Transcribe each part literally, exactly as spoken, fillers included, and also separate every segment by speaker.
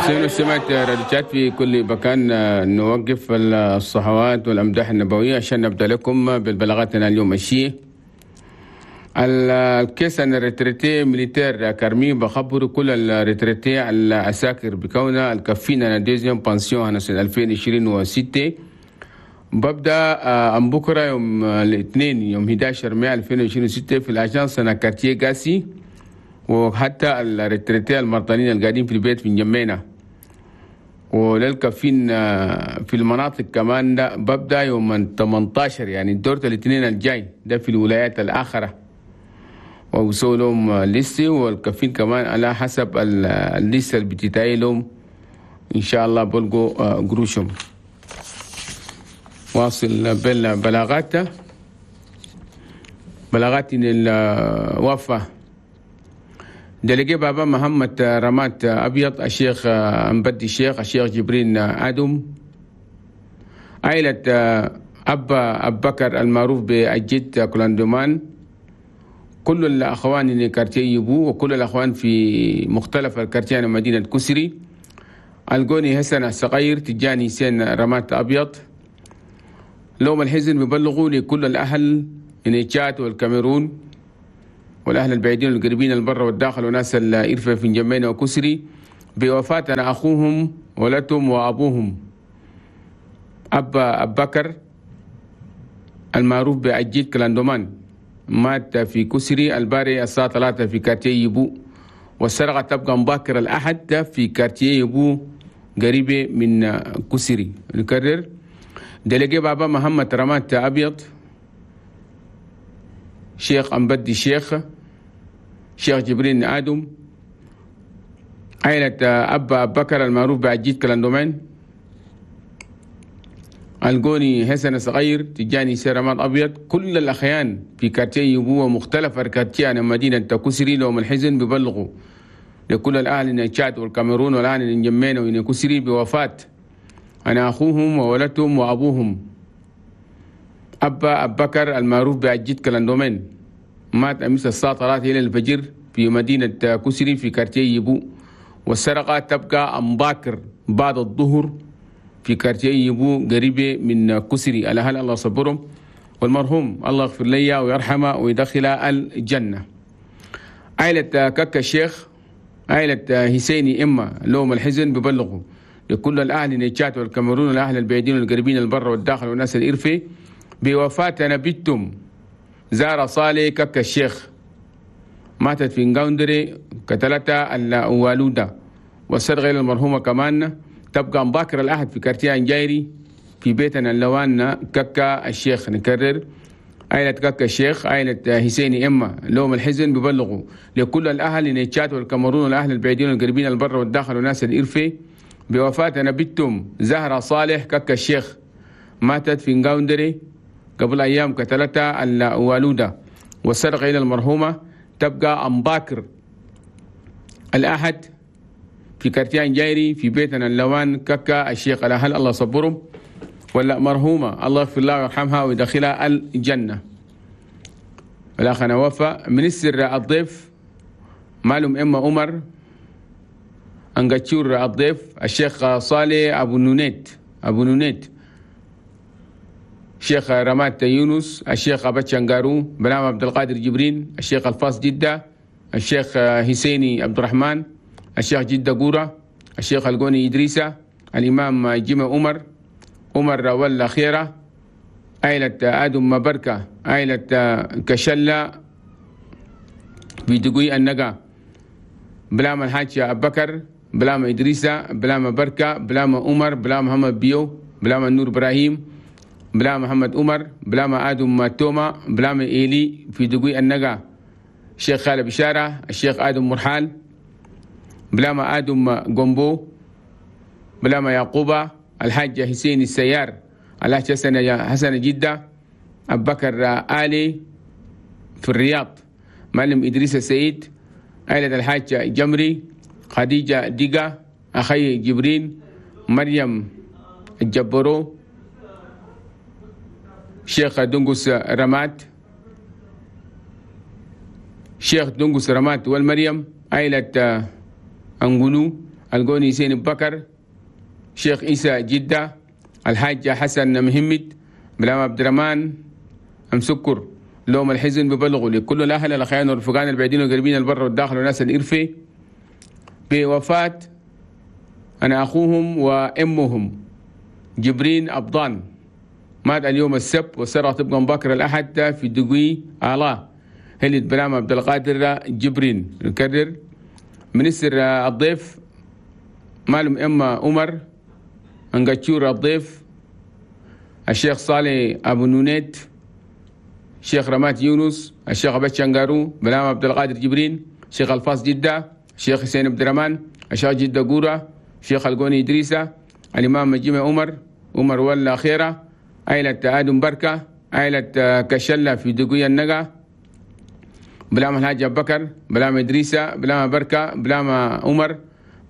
Speaker 1: المستمعين والمستمعات راديو تشاد في كل مكان، نوقف الصحوات والأمداح النبوية عشان نبدأ لكم بالبلاغاتنا اليوم. الشيء ال caisse هنا retraités militaires كارمي بخبروا كل ال retraités العساكر بكونها الكفين هنا deuxième pension هنا سنة ألفين وعشرين وستة ببدا أم بكره يوم الاثنين يوم حداشر مايو ألفين وعشرين وستة في ال agence هنا quartier غاسي، وحتى ال retraités المرضانين القاعدين في البيت في انجمينا وللكفين في المناطق كمان، ده ببدا يوم تمنتاشر، يعني الدور الاثنين الجاي ده في الولايات الآخرة، ووصلوا لهم liste، والكفين كمان على حسب ال liste اللي بتتاي لهم ان شاء الله بلقوا قروشهم. واصل بالبلاغات، بلاغات الوفاة: délégué بابا محمد رمات أبيض، الشيخ أمبدي الشيخ، الشيخ جبرين آدم، عائلة أبا أبو بكر المعروف بالجد كولاندومان، كل الأخوان اللي quartier يبو وكل الأخوان في مختلف ال quartiers مدينة كسري، الجوني حسن الصغير، تجاني حسين رمات أبيض، لهم الحزن بيبلغوا لكل الأهل من تشاد والكاميرون والأهل البعيدين والقريبين البر والداخل وناس الإرفة في انجمينا وكسري بوفاة أخوهم ولدهم وأبوهم أبا أبو بكر المعروف بأجيد كلاندومان، مات في كسري الباري الساعة ثلاثة في quartier يبو، والسرقة تبقى مبكر الأحد في quartier يبو قريبة من كسري. نكرر: délégué بابا محمد رمات أبيض، شيخ أمبدي الشيخ، شيخ جبرين آدم، عائلة أبا أبو بكر المعروف بعجيد كلاندومان، الجوني حسن صغير، تجاني سيرامات أبيض، كل الأخيان في quartier يبو ومختلف quartiers مدينة كسري، لهم الحزن ببلغوا لكل الأهل من تشاد والكاميرون والأهل من انجمينا وإن كسري بوفاة هنا أخوهم وولدهم وأبوهم أبا أبو بكر المعروف بعجيد كلاندومين، مات أمس الساعة ثلاثة إلى الفجر في مدينة كسري في quartier يبو، والسرقة تبقى أمباكر بعد الظهر في quartier يبو قريبة من كسري. الأهل الله صبرهم، والمرحوم الله يغفر لي ويرحمه ويدخل الجنة. عائلة ككا الشيخ، عائلة حسيني إما، لهم الحزن ببلغوا لكل الأهل نيتشات والكاميرون والأهل البعيدين والقريبين البر والداخل والناس الإرفي بوفاة نبيتم زارة صالح ككا الشيخ، ماتت في نغاوندري قتلتها الوالودة، والسرقة المرحومة كمان تبقى مباكر الأحد في quartier انجايري في بيتنا اللوان ككا الشيخ. نكرر: عائلة ككا الشيخ، عائلة حسيني إما، لهم الحزن ببلغوا لكل الأهل نيتشات والكاميرون والأهل البعيدين والقريبين البر والداخل والناس الإرفي بوفاة نبيتم زهرة صالح ككا الشيخ، ماتت في نغاوندري قبل أيام قتلتها الوالودة، والسرقة إلى المرحومة تبقى أمباكر الأحد في quartier انجايري في بيتنا اللوان ككا الشيخ. الأهل الله صبرهم، ولا مرحومة الله يغفر لها ويرحمها ويدخلها الجنة. الأخ وفا ministre الضيف معلم إما عمر أنجاتشور الضيف، الشيخ صالح أبو نونيت أبو نونيت، الشيخ رمات يونس، الشيخ أبا شنغارو بلام عبد القادر جبرين، الشيخ الفاس جدة، الشيخ حسيني عبد الرحمن، الشيخ جدة قورة، الشيخ القوني إدريسة، الإمام جمع عمر عمر ولا خيرة، عائلة آدم مبركة، عائلة كشلة بيدقوي النقا، بلام الحاج أبو بكر، بلام إدريسة، بلام بركة، بلام عمر، بلام محمد بيو، بلام النور إبراهيم، بلام محمد عمر، بلام آدم توما، بلام إيلي في دقوي النقا، الشيخ خالد بشارة، الشيخ آدم مرحال، بلام آدم جومبو، بلام يعقوبة، الحاج حسين السيار، الحاج حسن حسن جدة، أبو بكر آلي في الرياض، معلم إدريس السيد، عائلة الحاج جمري، خديجة ديقة، أخي جبرين، مريم الجبرو، شيخ دنقس رمات، شيخ دنقس رمات والمريم، عائلة أنجلو، القوني سين بكر، شيخ إيسى جدة، الحاج حسن مهمد، بلام عبد الرحمن أم سكر. لوم الحزن ببلغوا لكل الأهل الأخيان والرفقان البعيدين والقريبين البر والداخل والناس الإرفي بوفاة أنا أخوهم وأمهم جبرين أبضان، مات اليوم السبت والسرعة تبقى مبكر الأحد في دقوي آلا هلت بلام عبد القادر جبرين. نكرر منسر الضيف مالهم إما عمر أنقاتشور الضيف، الشيخ صالح أبو نونيت، الشيخ رمات يونس، الشيخ أبو شنغارو، بلام عبد القادر جبرين، الشيخ الفاس جدة، الشيخ حسين عبد الرحمن، الشيخ جدة قورة، الشيخ القوني إدريسة، الإمام جيمي عمر عمر ولا خيرة، عائلة آدم بركة، عائلة كشلة في دقوية النقا، بلام الحاج أبو بكر، بلام إدريسة، بلام بركة، بلام عمر،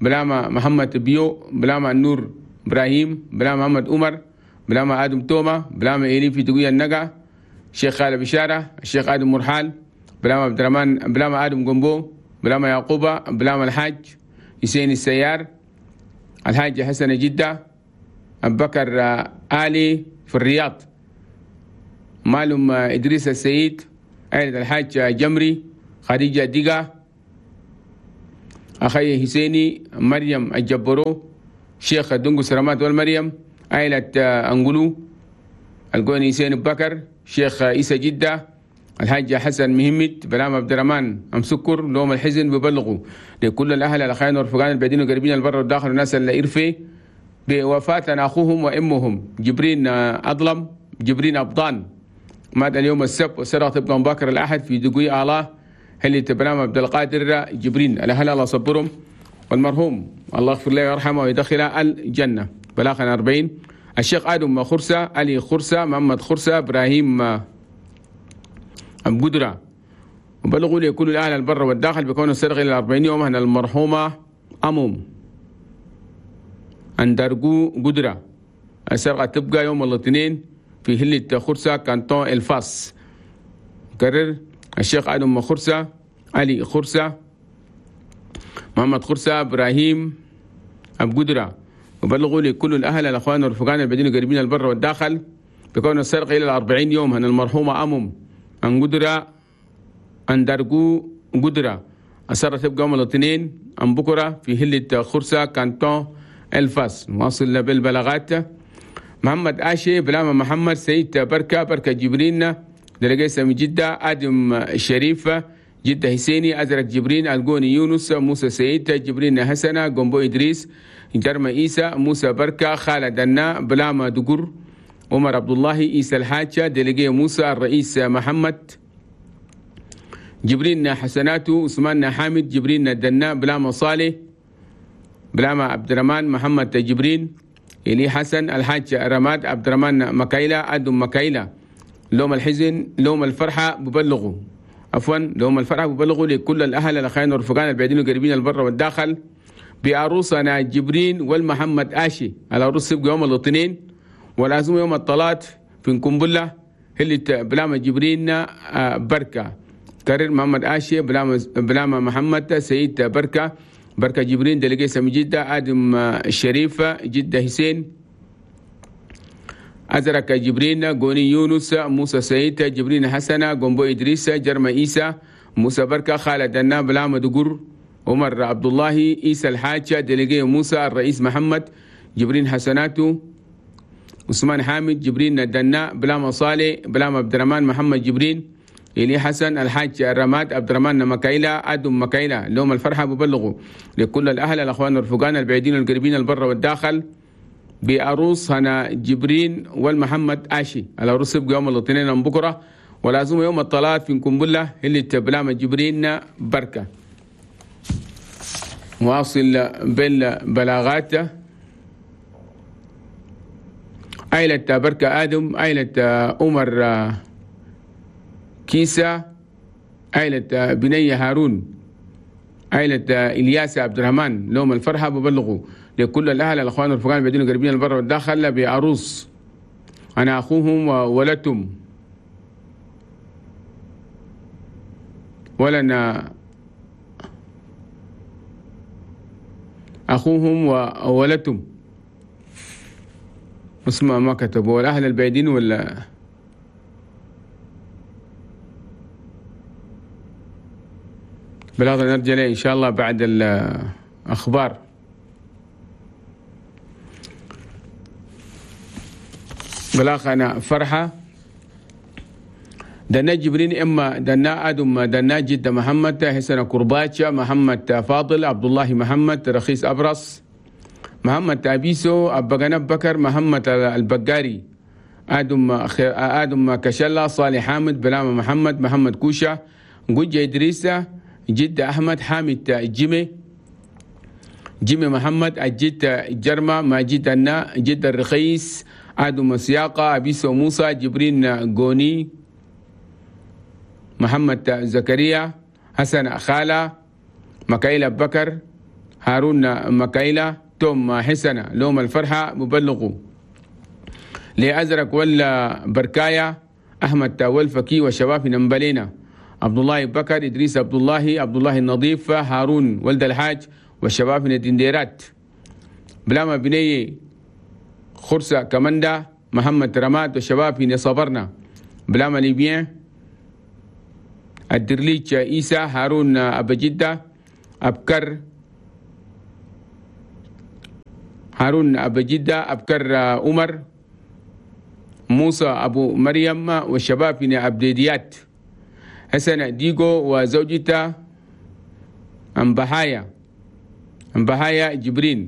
Speaker 1: بلام محمد بيو، بلام النور إبراهيم، بلام محمد عمر، بلام آدم توما، بلام إيلي في دقوية النقا، الشيخ خالد بشارة، الشيخ آدم مرحال، بلام عبد الرحمن، بلام آدم قنبو، بلام يعقوبة، بلام الحاج حسين السيار، الحاج حسن جدة، أبو بكر آلي في الرياض، مالهم إدريس السيد، عائلة الحاج جمري، خديجة ديقة، أخي حسيني، مريم الجبرو، شيخ دنقو سرمات والمريم، عائلة أنقلو، القوني حسين بكر، شيخ إيسى جدة، الحاج حسن مهمت، بلام عبد الرحمن أم سكر. لوم الحزن ببلغوا لكل الأهل الأخيان والرفقان البعيدين والقريبين البر والداخل والناس اللي إرفي بوفاة أخوهم وأمهم جبرين أظلم جبرين أبضان، مات اليوم السبت والسرعة تبقى مبكر الأحد في دقوي آلاه هل تبلام عبد القادر جبرين. الأهل الله صبرهم، والمرحوم الله يغفر له ويرحمه ويدخله الجنة. بلاغنا أربعين الشيخ آدم خرسة، علي خرسة، محمد خرسة، إبراهيم أم قدرة. وبلغوا لي كل الأهل البر والداخل بكون السرقة إلى أربعين يوم أن المرحومة أموم أندرجو قدرة. السرقة تبقى يوم الاثنين في هلة خرسة كانتون الفاس. كرر الشيخ آدم خرسة، علي خرسة، محمد خرسة، إبراهيم أبو قدرة. وبلغوا لكل الأهل الأخوان والرفقان البعيدين القريبين البر والداخل بكون السرقة إلى الأربعين يوم أن المرحومة أمم أن قدرة أن درجو قدرة. السرقة تبقى يوم الاثنين أن بكرة في هلة خرسة كانتون الفاس. نواصل بالبلاغات. محمد آشي، بلاما محمد سيد بركة، بركة جبرين، دلقيسة من جدة، آدم الشريف، جدة حسيني، أزرق جبرين، القوني يونس، موسى سيد، جبرين حسنة، قنبو إدريس، جرمى إيسى، موسى بركة، خالد النا، بلاما دقر، عمر عبد الله، إيسى الحاجة، دلقي موسى، الرئيس محمد جبرين حسناتو، عثمان حامد، جبرين دنا، بلاما صالح، بلاما عبد الرحمن، محمد جبرين، إلي حسن، الحاج رماد، عبد الرحمن مكايلة، آدم مكايلة. لوم الحزن لوم الفرحة ببلغوا عفوا لوم الفرحة ببلغوا لكل الأهل الأخيان والرفقان البعيدين والقريبين البر والداخل بعروسنا جبرين والمحمد آشي. العروس يبقى يوم الاثنين والعزومة يوم الثلاث في كنبلة اللي بلاما جبرين بركة. كرر محمد آشي، بلاما بلاما محمد سيد بركة، بركة جبرين، دلقيسة من جدة، آدم الشريف، جدة حسين، أزرق جبرين، قوني يونس، موسى سيد، جبرين حسنة، قنبو إدريس، جرمى إيسى، موسى بركة، خالد النا، بلاما دقر، عمر عبد الله، إيسى الحاج، دلقي موسى، الرئيس محمد، جبرين حسناتو، عثمان حامد، جبرين دنا، بلاما صالح، بلاما عبد الرحمن، محمد جبرين، إلي حسن، الحاج الرماد، عبد الرحمن مكايلة، آدم مكايلة. لهم الفرحة ببلغوا لكل الأهل الأخوان والرفقان البعيدين والقريبين البر والداخل بعروس هنا جبرين والمحمد آشي. العروس يبقى يوم الاثنين بكرة والعزومة يوم الثلاث في كنبلة اللي تبلام جبرين بركة. واصل بالبلاغات. عائلة بركة آدم، عائلة عمر كيسة، عائلة بنية هارون، عائلة إلياس عبد الرحمن. لهم الفرحة ببلغوا لكل الأهل الأخوان والرفقان البعيدين والقريبين البر والداخل بعروس أنا أخوهم وولدتم ولنا أخوهم وولدتهم اسمه ما كتبوا والأهل البعيدين ولا بالهذا نرجع ليه إن شاء الله بعد الأخبار. بلاغ أنا فرحة دنا جبرين إما دنا آدم دنا جدة محمد حسن كرباتشا محمد فاضل عبد الله محمد رخيص أبرص محمد أبيسو أبا بكر محمد البقاري آدم آدم كشلة صالح حامد بلامة محمد محمد كوشة جوجة إدريسة جدة أحمد حامد جيمي جيمي محمد الجد جرمة ماجد النا جد الرخيص آدم سياقة أبيسو موسى جبرين غوني محمد زكريا حسن خالة مكايلة بكر هارون مكايلة توم حسن لوم الفرحة مبلغوا لأزرق ولا بركاية أحمد والفكي وشباب نمبلينا عبد الله بكر إدريس عبد الله عبد الله النظيف هارون ولد الحاج والشباب من الدنديرات بلاما بني خرسة كماندا محمد رماد والشباب من صبرنا بلاما ليبيان الدرليج إيسى هارون أبا جدة أبكر هارون أبا جدة أبكر عمر موسى أبو مريم والشباب من أبديديات حسن ديغو وزوجته أمبهايا أمبهايا جبرين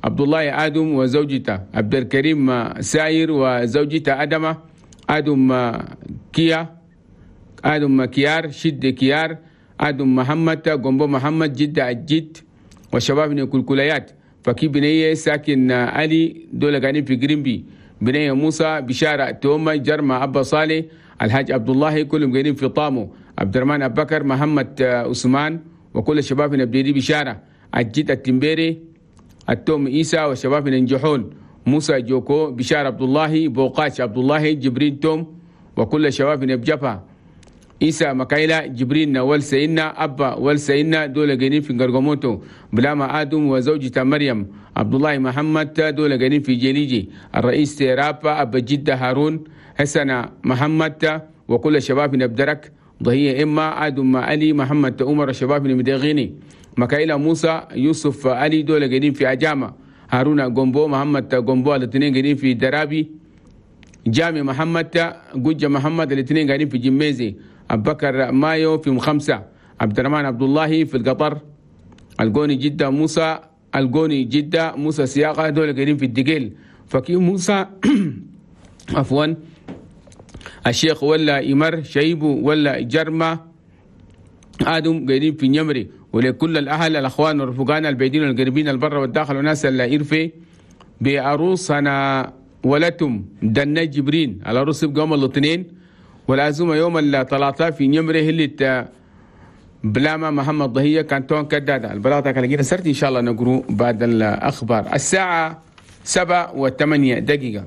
Speaker 1: عبد الله آدم وزوجته عبد الكريم ساير وزوجته أدمة آدم كيا آدم كيار شد كيار آدم محمد قنبو محمد جدة الجد وشباب من الكلكليات فكي بنية ساكن علي دولة قاعدين في جرينبي بنية موسى بشارة توما جرمة أبا صالح الحاج عبد الله كلهم قاعدين في طامو عبد الرحمن أبو بكر محمد عثمان وكل الشباب من أبديدي بشارة الجد التمبيري التوم إيسى والشباب من النجحون موسى جوكو بشارة عبد الله بوقاش عبد الله جبرين توم وكل الشباب من أبجفا إيسى مكايلا جبرين والسينا أبا والسينا دولة قاعدين في قرقموتو بلاما آدم وزوجته مريم عبد الله محمد دولة قاعدين في جليجي الرئيس تيرابا أبا جدة هارون حسن محمد وكل الشباب من أبدرك ضهية إما آدم علي محمد عمر الشباب من مدغيني مكايلا موسى يوسف علي دولة قاعدين في أجامة هارون قنبو محمد قنبو الاثنين قاعدين في درابي جامي محمد جوجة محمد الاثنين قاعدين في جميزي أبو بكر مايو في مخمسة عبد الرحمن عبد الله في القطر القوني جدة موسى القوني جدة موسى سياقة دول قاعدين في الدقيل فكي موسى عفوا الشيخ ولا إمر شيبو ولا جرمة آدم قاعدين في نمري. ولكل الأهل الأخوان والرفقان البعيدين والقريبين البر والداخل وناس اللي إرفي بعروس أنا ولتم دنا جبرين العروس يبقى يوم الاثنين والعزومة يوم الثلاثاء في نمره اللي بلاما محمد ضهية كانتون كدادة البلاطة كان سرت إن شاء الله نقرو بعد الأخبار الساعة سبعة وثمانية دقيقة.